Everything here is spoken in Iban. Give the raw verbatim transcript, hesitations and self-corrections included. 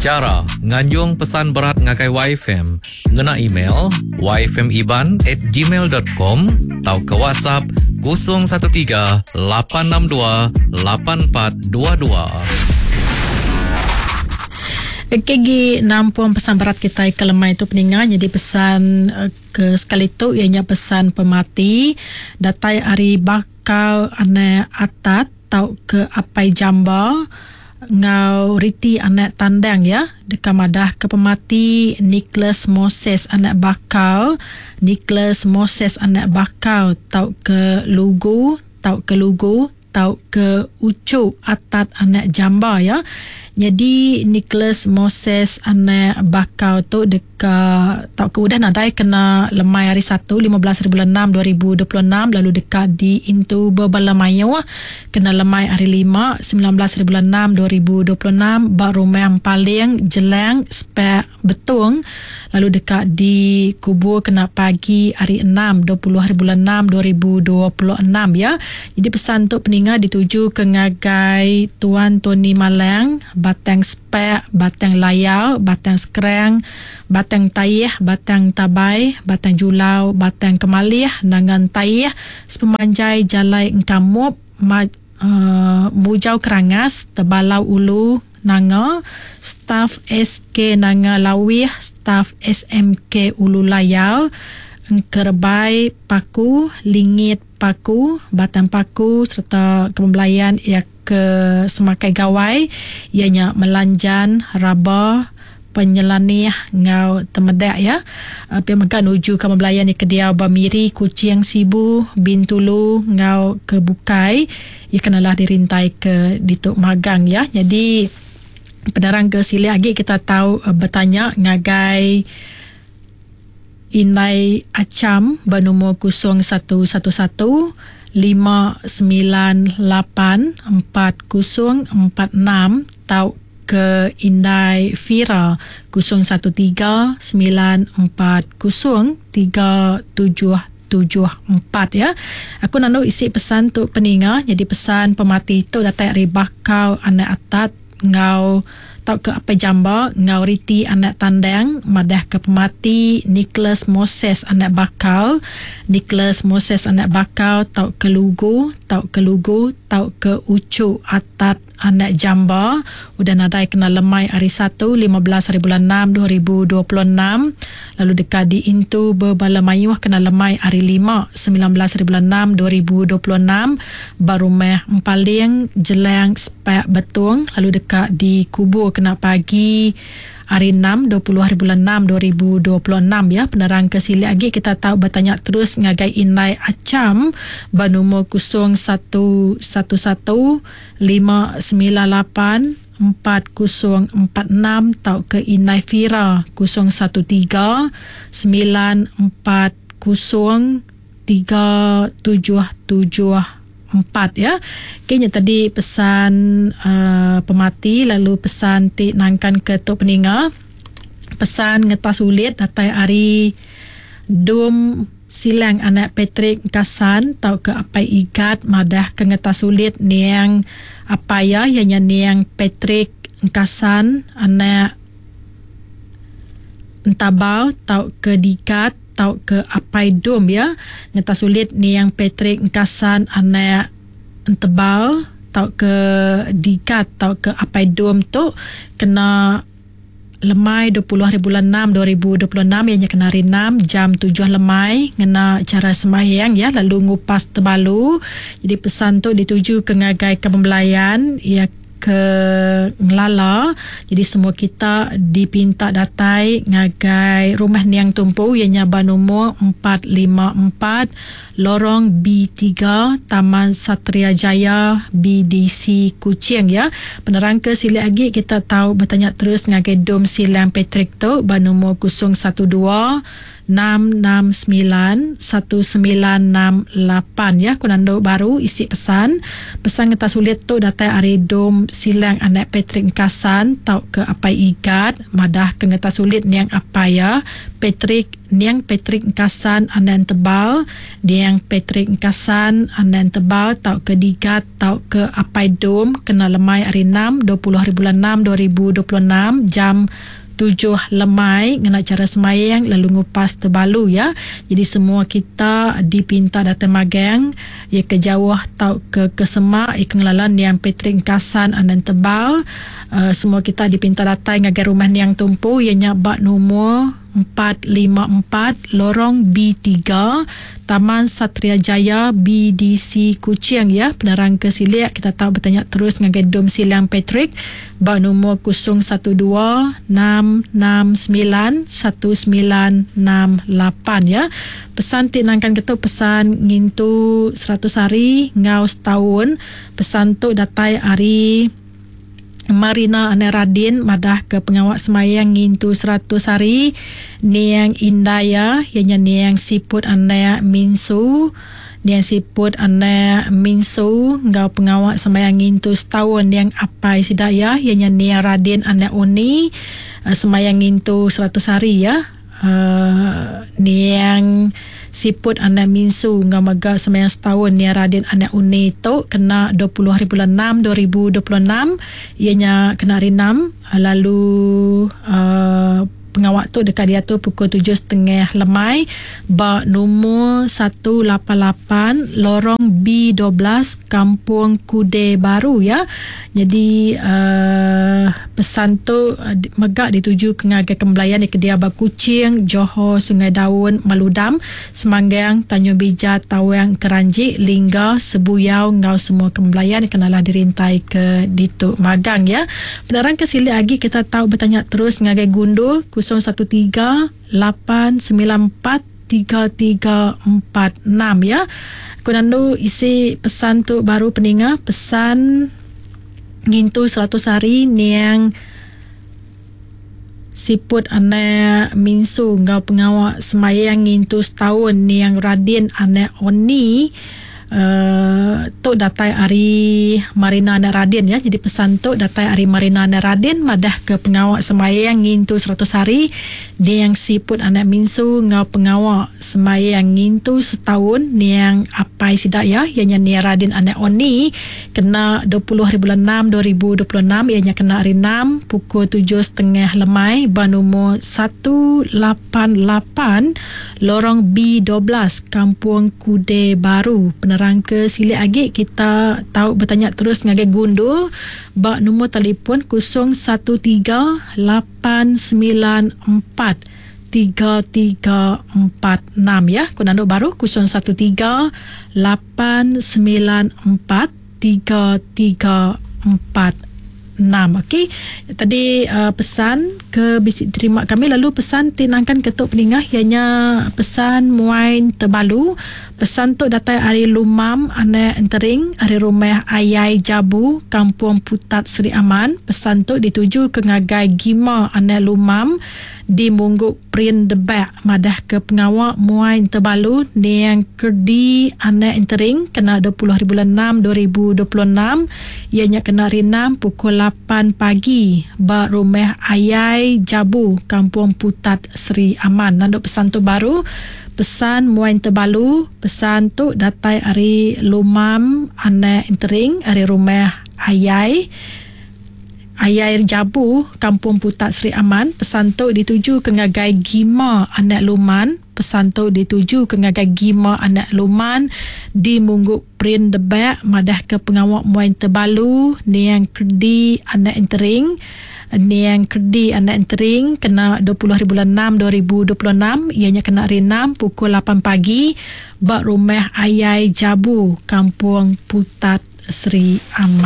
Chara nganjung pesan berat ngagai Y F M ngena email y f m iban at gmail dot com atau ke WhatsApp kosong satu tiga lapan enam dua lapan empat dua dua. Okey, gi nampung pesan berat kita ke lemai tu peninga. Jadi pesan ke sekali tu ianya pesan pemati datai ari bakal anak atat tau ke apai jamba ngau riti anak tandang ya. Deka madah ke pemati Nicholas Moses anak bakal, Nicholas Moses anak bakal tau ke lugu, tau ke lugu, tau ke ucuk atat anak jamba ya. Jadi Nicholas Moses anak bakal tu deka tau ke udah nadai kena lemai hari satu lima belas hari bulan enam dua ribu dua puluh enam, lalu deka di intu bebala mayuh kena lemai hari lima sembilan belas hari bulan enam dua ribu dua puluh enam ba rumah Paling Jelang Spek Betung, lalu deka dikubur kena pagi hari enam dua puluh hari bulan enam dua ribu dua puluh enam ya. Jadi pesan tu peninga dituju ke ngagai Tuan Tony Malang, Batang Spek, Batang Layau, Batang Skrang, Batang Tayih, Batang Tabai, Batang Julau, Batang Kemalih, Nangan Tayih, sepemanjai Jalai Engkamup, Ma-, uh, Mujau Kerangas, Tebalau Ulu, Nanga, staf S K Nanga Lawih, staf S M K Ulu Layau, Engkerbai Paku, Lingit Paku, Batang Paku serta kepembelayan ia ke Semakai Gawai, ianya Melanjan, Raba, Penyelanih ngau Temedak ya. Uh, pihak mega nuju ke pembelayan di Kediau Bamiri, Kuching, Sibu, Bintulu ngau ke Bukai. Ia kenalah dirintai ke Dituk Magang ya. Jadi penerang ke sili lagi kita tahu, uh, bertanya ngagai Inai Acam bernombor kosong satu satu satu lima sembilan lapan empat kosong empat enam tau ke Indai Fira kosong satu tiga sembilan empat kosong tiga tujuh tujuh empat ya. Aku nanu isi pesan tu peninga. Jadi pesan pemati tu datang dari bakal anak atat ngau tau ke apa jamba ngau riti anak tandang madah ke pemati Nicholas Moses anak bakal, Nicholas Moses anak bakal tau ke lugu, tau ke lugu, tau ke ucuk atat anak jamba udah nadai kena lemai hari satu lima belas hari bulan enam dua ribu dua puluh enam, lalu dekat di intu berbala mayuh kena lemai hari lima sembilan belas hari bulan enam dua ribu dua puluh enam barumah Empaling Jelang Sepak Betung, lalu dekat di kubur kena pagi hari enam dua puluh hari bulan enam dua ribu dua puluh enam ya. Penerang ke sili lagi kita tahu bertanya terus ngagai Inai Acam bernombor kosong satu satu satu lima sembilan lapan empat kosong empat enam tau ke Inai Fira kosong satu tiga sembilan empat kosong tiga tujuh tujuh empat ya. Kayaknya tadi pesan, uh, pemati, lalu pesan ti nangkan ke tok peninga. Pesan ngetas ulit datai ari Dum Silang anak Patrick Kasan tau ke apai Igat madah ke ngetas ulit niang apai ya ianya niang Patrick Kasan anak Entabau tau ke Digat tau ke apai Dum ya. Ngetas ulit niang Patrick Kasan anak Entebal tau ke Digat tau ke apai Dum tu kena lemai dua puluh hari bulan enam dua ribu dua puluh enam ianya kena hari enam jam tujuh lemai ngena cara sembahyang ya, lalu ngupas tebalu. Jadi pesan tu dituju ke ngagai kepembelayan ya ke ngelala. Jadi semua kita dipinta datai ngagai rumah Niang Tumpu ianya bernombor empat lima empat Lorong B tiga Taman Satria Jaya B D C Kuching ya. Penerang ke sili lagi kita tahu bertanya terus ngagai Dom Silang Patrick tu bernombor kosong satu dua enam enam sembilan satu sembilan enam lapan ya. Ku nanduk baru isi pesan. Pesan ngetas sulit tu datai ari Dom Silang anak Patrick Kasan tau ke apai Igat madah ke ngetas sulit niang apai ya Patrick Niang Patrick Engkasan Anan Tebal, Niang Patrick Engkasan Anan Tebal tau ke Digat tau ke Apai Dom kena lemai hari enam dua puluh hari bulan enam dua ribu dua puluh enam jam tujuh lemai ngena cara semayang lalu ngupas tebalu ya. Jadi semua kita dipinta datang magang ya ke jauh tau ke kesemak ya ke ngelalan Niang Patrick Engkasan Anan Tebal. Uh, semua kita dipinta datang ngagai rumah Niang Tumpu ianya bak nombor empat lima empat Lorong B tiga Taman Satria Jaya B D C Kuching ya. Penerang ke silik kita tahu bertanya terus ngagai Dom Silang Patrick bak nombor kosong satu dua enam enam sembilan satu sembilan enam lapan ya. Pesan ti nangkan ketu pesan ngintu seratus hari ngau setahun. Pesan tu datai hari Marina Anak Radin madah ke pengawak semayang ngintu seratus hari Niang Indaya ianya Niang Siput Anak Minsu, Niang Siput Anak Minsu ngau pengawak semayang ngintu setahun Niang Apai Sidaya ianya Niang Radin Anak Uni semayang ngintu seratus hari ya. Uh, Niang Siput Anak Minsu ngau mega semayang setahun Niang Radin Anak Uni tu kena dua puluh hari bulan enam dua ribu dua puluh enam ianya kena hari enam lalu uh, pengawak tu dekat dia tu pukul tujuh setengah lemai ba nombor satu lapan lapan Lorong B dua belas Kampung Kude Baru ya. Jadi uh, pesan tu uh, megak dituju ke ngagai kembelayan di Kedia Ba Kuching, Johor, Sungai Daun, Maludam, Semanggang, Tanjung Bija, Tawang, Keranji, Lingga, Sebuyau ngau semua kembelayan kenalah dirintai ke Dituk Magang ya. Penerang ke sili lagi kita tahu bertanya terus ngagai Gundur kosong satu tiga lapan sembilan empat tiga tiga empat enam ya. Kunandu isi pesan tu baru peninga pesan ngintu seratus hari Niang Siput Anak Minsu ngau pengawak semayang ngintu setahun Niang Radin Anak Oni. Uh, tu datai hari Marina Anak Radin ya. Jadi pesan tu datai hari Marina Anak Radin madah ke pengawak semayang ngintu seratus hari Niang Siput Anak Minsu ngau pengawak semayang ngintu setahun Niang Apai Sidaya ianya Niang Radin Anak Oni kena dua puluh hari bulan enam dua ribu dua puluh enam ianya kena hari enam pukul tujuh setengah lemai ba nombor satu lapan lapan Lorong B dua belas Kampung Kude Baru. Penerang ke silik lagi kita tahu bertanya terus ngagai Gundur bak nombor telefon kosong satu tiga lapan sembilan empat tiga tiga empat enam ya. Kunando baru kosong satu tiga lapan sembilan empat tiga tiga empat enam. Okey, tadi uh, pesan ke bisik terima kami lalu pesan tinangkan ketuk peningah ianya pesan muain terbalu. Pesan tu datang ari Lumam Anak Entering ari rumah Ayai Jabu Kampung Putat Seri Aman. Pesan tu dituju ke ngagai Gima Anak Lumam di Mungguk Prin Debak madah ke pengawak muain terbalu Niang Kerdi Anak Entering kena dua puluh hari bulan enam dua ribu dua puluh enam ianya kena hari enam pukul lapan pagi ba rumah Ayai Jabu Kampung Putat Seri Aman. Nanduk pesan tu baru pesan muain terbalu. Pesan tu datai ari Lumam Anak Entering ari rumah Ayai Ayai Jabu Kampung Putat Seri Aman. Pesan tu dituju ke ngagai Gima Anak Luman. Pesan tu dituju ke ngagai Gima Anak Luman di Mungguk Prin Debak madah ke pengawak muain terbalu Niang Kerdi Anak Entering Niang Kerdi Anak Entering kena dua puluh hari bulan enam dua ribu dua puluh enam ianya kena hari enam pukul lapan pagi bak rumah Ayai Jabu Kampung Putat Seri Aman.